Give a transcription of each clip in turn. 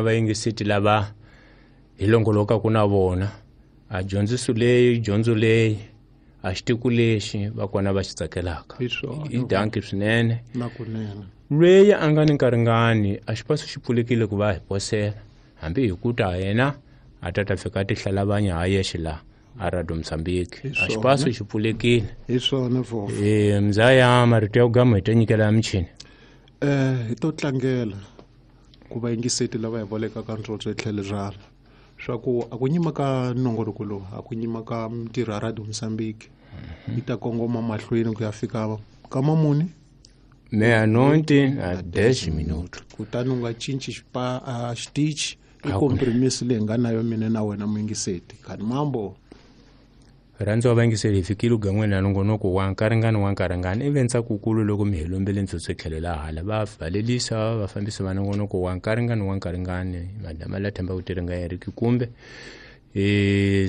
Vayingiseti lava hi longolokaka na vona a dyondziso leyi, dyondzo leyi, a xitiku lexi va kona va xi tsakelaka. Hi swona. I danki swinene. Na kunene. Lweyi a nga ni nkaringani a xipaso xi pfulekile ku va hi posela hambi hi ku ta yena a ta ta fika a tihlalavanya ha yexe laha a Radio Mozambique. Hi A swona. xipaso xi pfulekile. Hi swona vhofo. Mzaya marito ya ku gama hi ta nyikela ya michini. Hi to tlangela ku vayingiseti lava hi volekaka ntsotso hi tlhelo rala swa ku a ku nyima ka nongoloko lowu, a ku nyima ka mintirho ya Radio Mozambique yi ta kongoma mahlweni ku ya fika ka mamuni meia-noite a 10 minutos. Kutani u nga cinci xitichi i A ku- compromise leyi nga na yo mina na wena muyingiseti khani mambo. Rhandza wa vayingiseli, hi fikile ugan'weni na nongonoko wa nkaringani wa nkaringani. Ivi ntsakukulu loko mi hi lombele ntsotso tlhelo la hala va valelisa vafambisi va nongonoko wa nkaringani wa nkaringani, madama la themba ku tirhinga Eric kumbe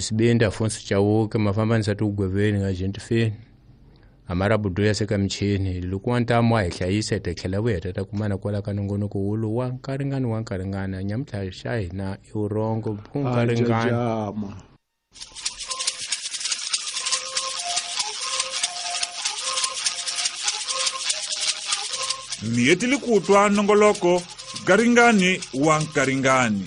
Sibindi Afonso Chauke, mafambanisa tigweveni nga Gentifeni Amara Budu ya seka michini. Loko wa ntamu wa hi hlayisa hi ta tlhela vuya hi ta ta kumana kwala ka nongonoko wolowu wa nkaringani wa nkaringani. Nyamuntlha xa hina i vurhongo ku nkaringani. Jama. Mi hetile ku twa nongoloko Garingani wa Nkaringani.